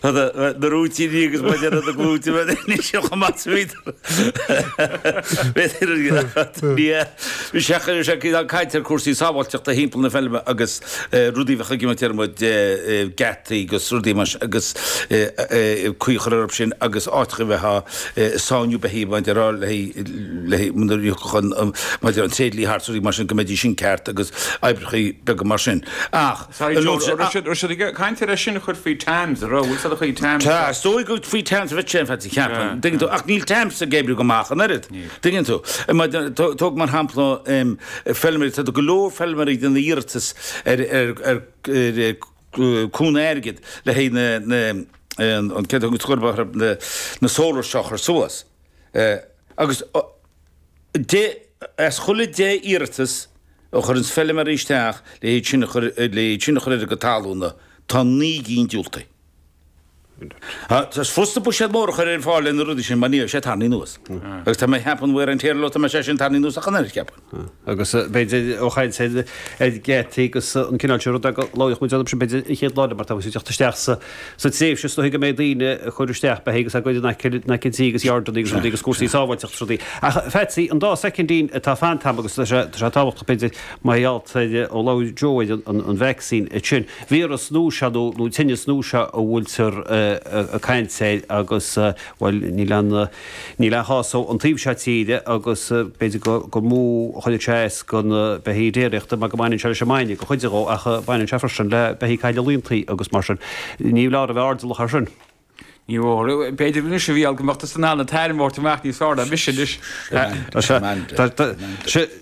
Na rúitíní agus mar deir na glúite ní sin chomh maith is a bhíodar. Bhí sé ag caint ar cúrsaí sábháilteachta thimpeall na feilme agus rudaí a bheadh ag imeacht ar muid geataí agus rudaí mar sin agus caoi a chur orthu sin agus áiteacha a bheith á sáinniú beithígh mar déarfá le le nuair a thiocfadh an mar déarfá an tréidlia thart rudaí mar sin go mbeidís sin ceart agus oibreacha beaga mar sin. Ach Sorry Joe, raibh siad ag caint ar é sin a chur faoi TAMS, an raibh? Bhfuil siad a chur TAMS? Tá, is dóigh go faoi TAMS a bheadh sé, in fact, cheapfainn. Tuigeann tú, ach níl TAMS ag oibriú go maith ach an oiread. Tuigeann tú. Tóg mar shampla feilméaraí, tá go leor feilméaraí ag déanamh iarratas ar ar cúnamh airgid le haghaidh na na an céard a thugann na na solars seo a chur suas. Agus de, as chuile 10 iarratas a chuireanns feilméaraí isteach le hiad sin a chur, le iad sin a chur ar a gcuid talúna, tá 9 gcinn diúltaithe. Is furasta buiséad mór a chur ar fáil le na rudaí sin mar ní bheidh sé tarraingthe anuas. Agus tá mé ag ceapadh an wear and tear leo, tá mé sé sin tarraingthe anuas ach an oiread, ceapaim. Agus b'fhéidir ó chaint ar ar gheataí agus an cineál sin ruda go labhródh muid orthu sin b'fhéidir an chéad lá eile mar tá muid ag teacht isteach sa Sa tréimhse is dóichí go mbeidh daoine ag cur isteach beithígh agus á gcur in aice in aice an tí agus yardanna agus rudaí agus cúrsaí sábháilteachta agus rudaí. Ach Phatsy, an dá soicindín atá fanta agam agus tá sé tá sé tábhachtach b'fhéidir mar gheall ar ó labhair Joe ar an an vacsaín ansin. Víreas nua seo nó nó tinneas nua seo a bhfuiltear ag caint air agus bhuel níl aon Níl aon chás ó an taobh seo tíre agus b'fhéidir gur mó a chuirfeadh sé as do na beithígh déiríochta mar go mbaineann sé leis an mbainne, go chuid dhó, ach baineann sé freisin le beithígh cailleadh laontaí agus mar sin. Ní leor a bheith airdeallach air sin. Ní mhór. B'fhéidir anois a Mhícheál go mbeadh tusa in ann an t-ainm a thabhairt amach níos fearr ná mise anois.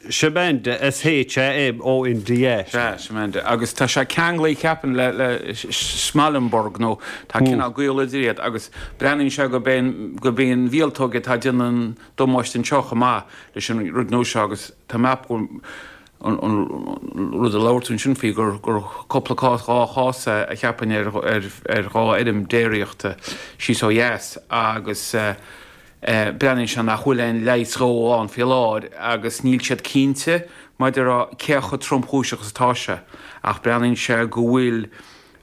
Shamonda, S-H-A-M-O-N-D-A. Sea, Shamonda. Agus tá sé ceanglaithe, ceapaim, le, le Schmallenberg nó tá cineál gaol idir iad agus breathnaíonn sé gurb é an, gurb í an mhíoltóg atá ag déanamh an damáiste anseo chomh maith leis an rud nua seo agus tá mé ag ceapadh an, an rud a labhair tú ansin faoi gur, gur cúpla cás, dhá chás é a cheapfainn ar, ar, ar dhá fheirm déiríochta síos ó dheas agus eh, Breathnaíonn sé nach bhfuil aon leigheas dhó ann faoi láthair agus níl siad cinnte maidir le cé chomh tromchúiseach is atá sé ach breathnaíonn sé go bhfuil,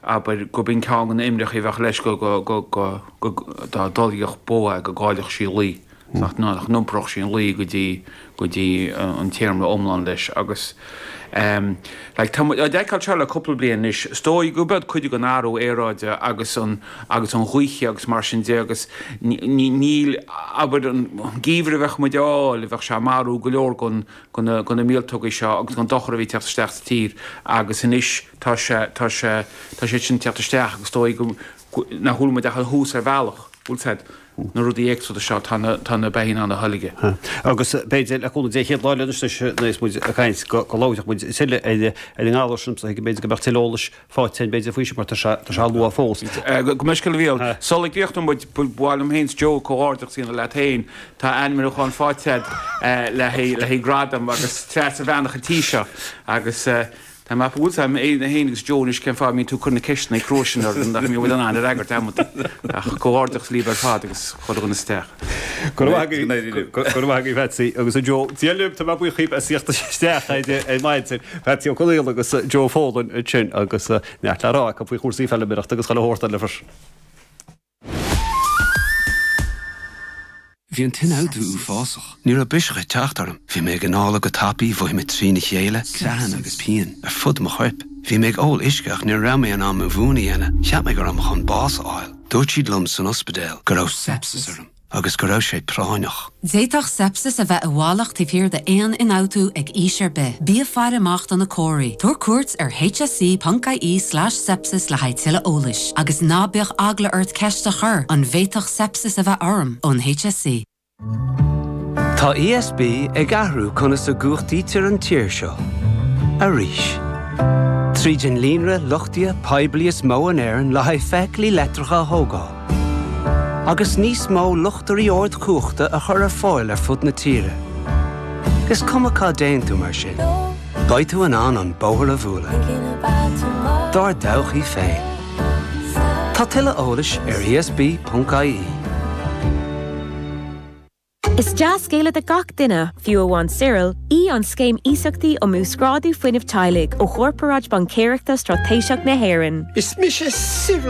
abair, gurb in ceann de na imreacha a bheadh leis go, go, go, go, go, dá dtolgfadh bó é go gcaillfeadh sí lao, nach, nach n-iompródh sí an lao go dtí, go dtí an téarma iomlán leis agus like tá muid á fheiceáil seo le cúpla bliain anois. Is dóigh gurb iad cuid den athrú aeráide agus an agus an ghaoth agus mar sin de agus níl, abair, an geimhreadh a bheadh muid a fháil, bheadh sé ag marú go leor den de na míoltógaí seo agus den dochar a bhí ag teacht isteach sa tír agus anois tá sé, tá sé, tá siad sin ag teacht isteach agus is dóigh go, nach bhfuil muid ach ar thús ar bhealach, bhfuil 's a'd, na rudaí éagsúla seo, tá na, tá na beithígh in ann a tholgadh. Agus b'fhéidir, le cúnamh Dé, chéad lá eile anois nuair is muid ag caint go, go labhróidh muid tuilleadh ar, ar an ngalar sin, so b'fhéidir go mbeadh tuilleadh eolais faighte againn b'fhéidir faoi sin mar tá sé, tá sé luath fós. Gabh mo leithscéal a Mhícheáil, sula gcríochnóidh muid, ba mhaith liom féin 's Joe comhghairdeachas a dhéanamh leat féin, tá ainmniúchán faighte agat le haghaidh, le haghaidh gradam agus Treasa Bhreathnach an tí seo agus Tá mé bhfuil 's a'm féin agus Joe anois cén fáth a mbíonn tú ag cur na ceisteanna crua sin orainn nach mbíonn muid in ann a fhreagairt amanta. Ach comhghairdeachas libh ar fad agus chuile dhuine sa teach. Go raibh maith agaibh, go raibh maith agaibh Patsy agus a Joe. Dia libh, tá mé buíoch dhaoibh as theacht isteach ar maidin. Patsy Ó Conaola agus Joe Folan ansin agus neart le rá acu faoi chúrsaí feilméarachta agus chuile shórt eile freisin. Bhí an t-ionfhabhtú uafásach. Ní raibh biseach ag teacht orm. Bhí mé ag análú go tapaidh, mhothaigh mé trína chéile, creathanna agus pian ar fud mo choirp. Bhí mé ag ól uisce ach ní raibh mé in ann mo mhún a dhéanamh. Cheap mé go raibh mé chun bás a fháil. Dúirt siad liom san ospidéal go raibh sepsis orm agus go raibh sé práinneach. D'fhéadfadh sepsis a bheith i bhfalach taobh thiar d'aon ionfhabhtú ag aois ar bith. Bí ag faire amach do na comharthaí. Tabhair cuairt ar hse.ie/sepsis le haghaidh tuilleadh eolais. Agus ná bíodh eagla ort ceist a chur, an bhféadfadh sepsis a bheith orm? ón HSE. Tá ESB ag athrú conas a gcumhachtaítear an tír seo. Arís. Tríd an líonra luchtaithe poiblí is mó in Éirinn le haghaidh feithiclí leictreacha a thógáil. agus níos mó luchtairí ardchumhachta a chur ar fáil ar fud na tíre. Is cuma cá dtéann tú mar sin, beidh tú in ann an bóthar a bhualadh. Dár dtodhchaí féin. Tá tuilleadh eolais ar esb.ie. Is dea-scéala do gach duine, fiú amháin Cyril, í an Scéim Iasachtaí um Uasghrádú Fuinnimh Teaghlaigh ó Chorparáid Baincéireachta Straitéiseach na hÉireann. Is mise Cyril.